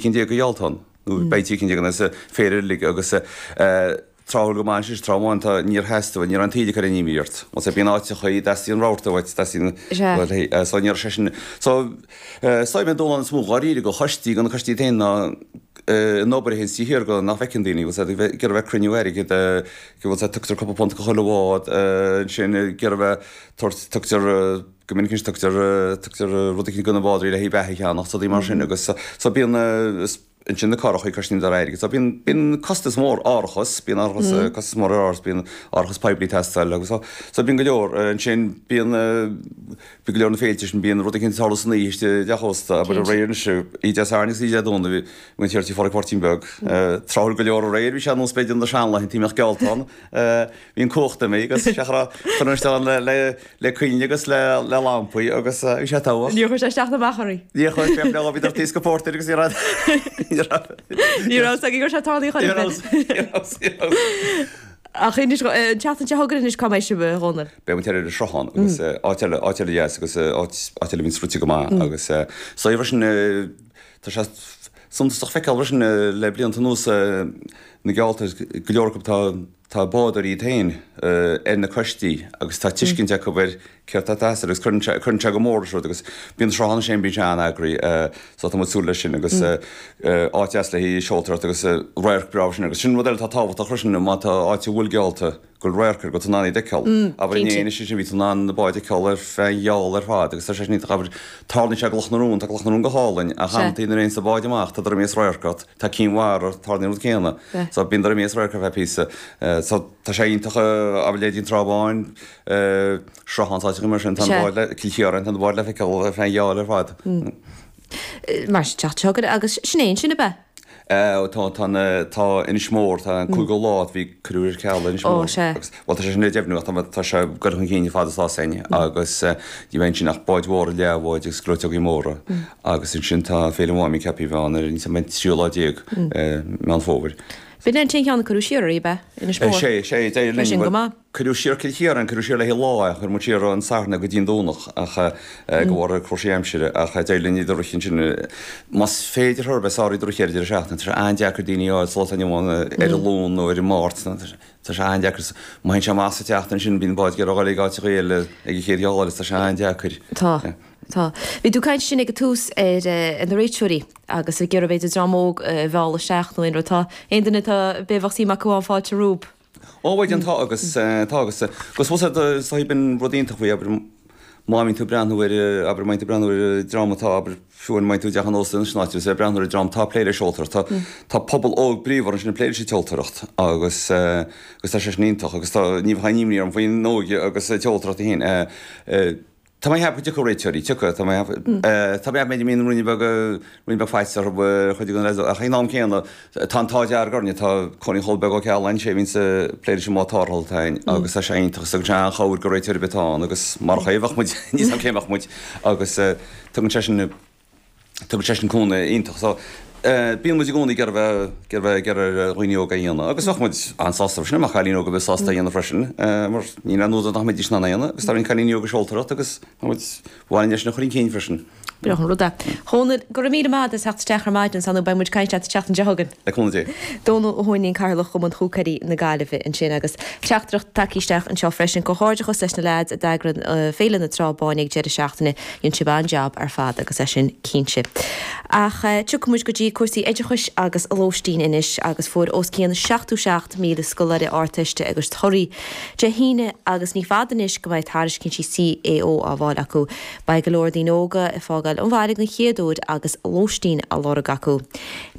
cinn de gheallta ann, nó beidh 13 cinn ann sa féile uilig agus tráthúil go maith ansin, tráth amháin tá, níor theastaigh, ní raibh an taoide ag cur aon imní ort. Más é, bíonn áiteachaí, dteastaíonn rabharta uait, teastaíonn, bhuel, hey, so ní raibh sé sin, so, so an dúshlán is mó dháiríre do choistí, do na coistí féin ná an obair a théann taobh thiar de nach bhfeiceann daoine, bhfuil a fhios agat, ag iarraidh bheith ag cruinniú airgid, go bhfuil a fhios agat, tugtar cúpla punt do chuile bhád, ansin ag iarraidh bheith, tabhairt, tugtar, Go minic anois tugtar, tugtar rud eicínt do na bádóirí le haghaidh beatha a cheannach, rudaí mar sin agus so bíonn, ansin na curachaí, cosnaíonn siad airgead. So bíonn, bíonn costas mór árachas, bíonn árachas, costas mór ar árachas, bíonn árachas poiblí ag teastáil agus so, so bíonn go leor. Ansin bíonn, bíonn go leor na féilte sin, bíonn rud eicínt ag tarlú san oíche istigh i dteach ósta, abair aréir anois, oíche Dé Sathairn agus oíche Dé Domhnaigh, bhí, bhí an Thiar Tí Phádraig Mháirtín Beag, tráthúil go leor aréir, bhí sé ar nós b'fhéidir na seanlaethanta, bhí geallta ann. Bhí an cumhacht imithe agus sé chur chur an steán le le le coinnle agus le le lampaí agus bhí sé togha. Níor chuir sé isteach ná amach oraibh. Níor chuir sé le bhí taobh go pórtair agus ní raibh ní raibh Ní raibh 's againn go raibh sé tarlaithe chor ar bith. Ní raibh ní raibh. Ach anois an tseachtain seo chugainn anois cá mbeidh sibh a Dhónaill? Beidh muid ar an Sruthán agus áit eile áit eile dheas agus áit áit eile a bhíonn sroichte go maith agus so freisin tá sé suntasach feiceáil freisin le blianta anuas na geallta, go leor acu tá tá bádóirí iad féin ar na coistí agus tá tuiscint acu ar céard atá ag teastáil agus cuireann sé cuireann sé go mór leis an rud agus bíonn Sruthán ansin bíonn sé an-eagraithe so tá muid ag súil leis sin agus áit deas le haghaidh seoltóireacht agus radharc breá freisin agus sin rud eile atá tábhachtach freisin má tá áit a bhfuil geallta go bhfuil radharc air, go bhfuil tú in ann iad a fheiceáil. Abair inné anois ansin bhí tú in ann na báid a fheiceáil ar feadh an gheall ar fad agus tá sé sin iontach. Abair, tarlaíonn sé i gCloch na Rón, tá Cloch na Rón go hálainn ach amantaí nuair a théann na báid amach tá droim as radharc ort, tá Cinn Mhara, tarlaíonn an rud céanna. So bíonn droim as radharc ar feadh píosa. So tá sé iontach, abair leithéidí an Trá Bháin, Sruthán, áiteacha mar sin, tá na báid le, Cill Chiaráin, tá na báid le feiceáil ar feadh an gheall ar fad. Mar sin, teacht seo chugainn agus sin é ansin ab ea? Tá, tá an, tá Inis Mór, tá an cúigiú lá, bhí, cuireadh ar ceal Inis Mór. Ó, sea. Agus, bhuel, tá sé sin le deimhniú ach tá, tá sé ag dul chun cinn chomh fada is atá againn agus ní bheidh ansin ach báid mhóra, leathbháid agus gleoiteogaí móra agus ansin tá Féile Mháimín ceaptha a bheith ann ar an, an tríú lá déag, Meán Fómhair. B'in é an t-aon cheann a cuireadh siar oraibh, ab ea? Inis Mór. Sea, sea, d'éirigh linn, Sin go bhuel, maith. Cuireadh siar Cill Chiaráin, cuireadh siar le haghaidh lá é, chuir muid siar ón Satharn go dtí an Domhnach ach de bharr cúrsaí aimsire ach d'éirigh linn iad a rith ansin. Más féidir chor ar bith sár iad a rith ar deireadh seachtaine, tá sé an-deacair daoine a fháil sa lá atá inniu ann ar an Luan nó ar an Máirt, tá sé an-deacair. Má théann sé amach sa tseachtain sin bíonn báid ag iarraidh a dhul ag áiteacha eile ag an chéad gheall agus tá sé an-deacair. Tá. Tá. Bhí tú ag caint ansin ag an tús ar na réiteoirí agus ag iarraidh b'fhéidir dream óg a mhealladh isteach nó aon rud. Tá aon duine atá b'fhéidir bheadh suim acu ann fáilte rompu. Ó, bhuel, tá agus, tá agus, agus fós is dóigh b'in rud iontach faoi, abair, má bhíonn tú ag breathnú ar, abair, má bhíonn tú ag breathnú ar dream atá, abair, fiú má bhíonn tú i dteach an ósta anois in áit, agus ag breathnú ar dream atá ag plé le seoltóireacht, tá, tá pobal óg bríomhar ansin ag plé leis an tseoltóireacht agus, agus tá sé sin iontach agus tá, ní bheadh aon imní orm faoin óige agus an tseoltóireacht féin. Tá mé ag ceapadh go dtiocfaidh réiteoirí, tiocfaidh, tá mé ag ceapadh, tá mé ag ceapadh b'fhéidir go mbíonn ruainne beag, ruainne beag faitíos orthu ar chuid de na leaids ach ag an am céanna tá an t-ádh dearg orainne, tá Cóilín Chóil Beag Ó Cealláin, sé a bhíonns ag plé leis an mbád tarrthála atá againn agus tá sé iontach agus tugann sé an-chabhair do réiteoir ar bith atá ann agus marach é bheadh muid, níl 's agam cé mbeadh muid agus tugann sé sin, Tugann sé sin cúnamh iontach. So, bíonn muid i gcónaí ag iarraidh bheith, ag iarraidh bheith ag iarraidh ar dhaoine óga é a dhéanamh agus bheadh muid an-sásta freisin dá mbeadh cailín óga a bheith sásta é a dhéanamh freisin mar níl aon údar nach mbeidís in ann é a dhéanamh agus tá roinnt cailíní óga ag seoltóireacht agus tá muid, ba mhaith linn é sin a chur chun cinn freisin. Breá an rud é. Dhónaill, go raibh míle maith agat as theacht isteach ar maidin, 's ar ndóigh beidh muid ag caint leat an tseachtain seo chugainn. Le cúnamh Dé. Dónal Ó hUaithnín, Cathaoirleach Chumann Húicéirí na Gaillimhe ansin agus teachtaireacht tagtha isteach anseo freisin. Comhghairdeachas leis na leaids a d'eagraigh Féile na Trá Báine ag deireadh seachtaine. Dhein sibh an-jab ar fad agus é sin cinnte. Ach tiocfaidh muid go dtí cúrsaí oideachais agus lóistín anois agus fuair os cionn 77,000 scoláire Ardteiste a gcuid torthaí Dé hAoine agus ní fada anois go mbeidh tairiscintí CAO á bhfáil acu. Beidh go leor daoine óga ag fágáil an bhaile den chéad uair agus lóistín á lorg acu.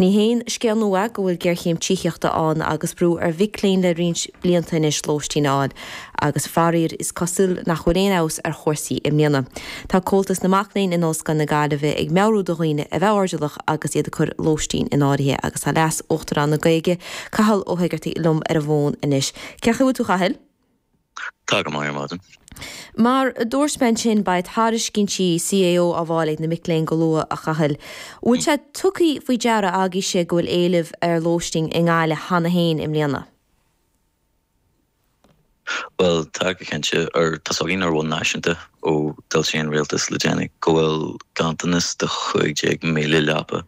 Ní haon scéal nua é go bhfuil géarchéim tithíochta ann agus brú ar mhic léinn le roinnt blianta anois lóistín a fháil. Agus faraor is cosúil nach bhfuil aon fheabhas ar chúrsaí i mbliana. Tá Comhaltas na Mac Léinn in Ollscoil na Gaillimhe ag meabhrú do dhaoine a bheith airdeallach agus iad ag cur lóistín in áirithe agus tá Leas Uachtarán na Gaeilge, Cathal Ó hEigeartaigh liom ar an bhfón anois. Cén chaoi a bhfuil tú a Chathail? Tá go maith ar maidin. Mar a dúirt mé ansin beidh tairiscintí CAO á bhfáil ag na mic léinn go luath a Chathail. Bhfuil sé tugtha faoi deara agaibhse go bhfuil éileamh ar lóistín i nGaillimh cheana féin i mbliana? Bhuel, tá go cinnte. Ar, tá's againn ar bhonn náisiúnta ó d'fhoilsigh an rialtas le déanaí go bhfuil ganntanas de 15,000 leapa.